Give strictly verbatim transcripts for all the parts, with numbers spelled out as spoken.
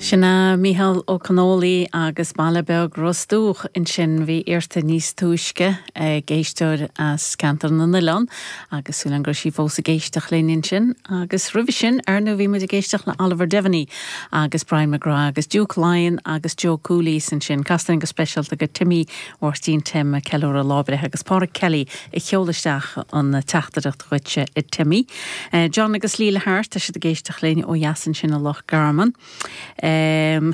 Sin é Mícheál Ó Conghaile agus Baile Beag Ros Dumhach ansin bhí iarrta níos túisce ag éisteoir as Ceantar na nOileán agus súil go sí fós ag éisteacht linn ansin agus roimhe sin ar ndóigh bhí muid ag éisteacht le Oliver Devaney agus Brian McGrath agus Duke Lyon agus Joe Coolies ansin casta go speisialta go Timmy Mháirtín Tim ceiliúradh lá breithe agus Pádraig Kelly a sheol isteach an teachtaireacht chuige a Timmy. Uh, John agus Leila Hart tá siad ag éisteacht linn ó dheas ansin i Loch Garman. Um,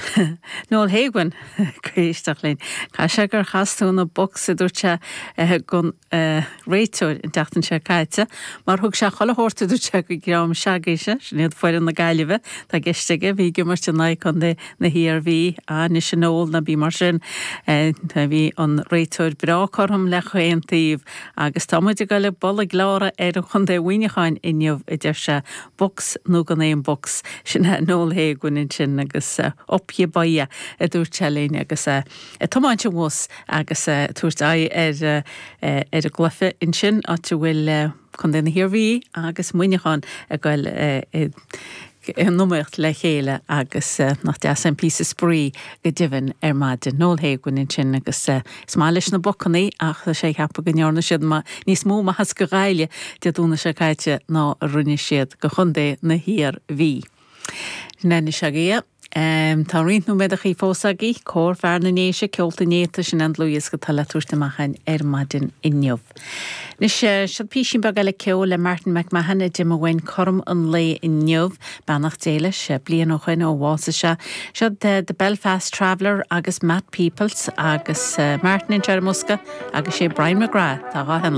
Noel Hagan ag éisteacht linn. Tá sé gur chas tú na bocs a dúirt sé uh, gon uh, réiteoir an tseachtain seo caite, mar thug sé chuile shórt dúirt sé go dream s'agaibhse, sin iad foireann na Gaillimhe tá ceist aige bhí ag imirt in aghaidh Chontae na hIarmhí anois an ól na bí mar sin uh, bhí an réiteoir breá cothrom le chaon taobh agus tá muid ag goil bualadh gleára ar an Chontae Mhuineacháin inniu a deir sé box nó gan aon box sin é Noel Hagan ansin agus uh, up you boya a dúirt sé linn agus uh, tiomáint an bhus agus uh, tabhairt aghaidh ar uh, ar an gcluiche ansin áit a bhfuil uh, Contae na hIarmhí agus Muineachán ag goil uh, in iomaíocht le chéile agus uh, nach deas an píosa spraoi go deimhin ar maidin Noel Hagan ansin agus uh, is maith leis na bocannaí ach sé ceapadh go ndearna siad níos mó maitheas go Gaillimh Dé Domhnaigh seo caite ná a rinne siad go Chontae na hIarmhí. Nenne se. Um, tá roinnt nóiméadachaí fós againn Cór Fear na nDéise Ceolta Néata sin an dlúthdhiosca atá le tabhairt amach ar maidin inniu. Anois seo píosa beag eile ceoil le Martin McMahon a d'imigh uainn cothrom an lae inniu beannacht Dé leis bliain ó shin ó bhásaigh sé. Seo the, the Belfast Traveller agus Matt Peoples agus uh, Martin in Jermuska agus sé Brian McGrath tá á henle.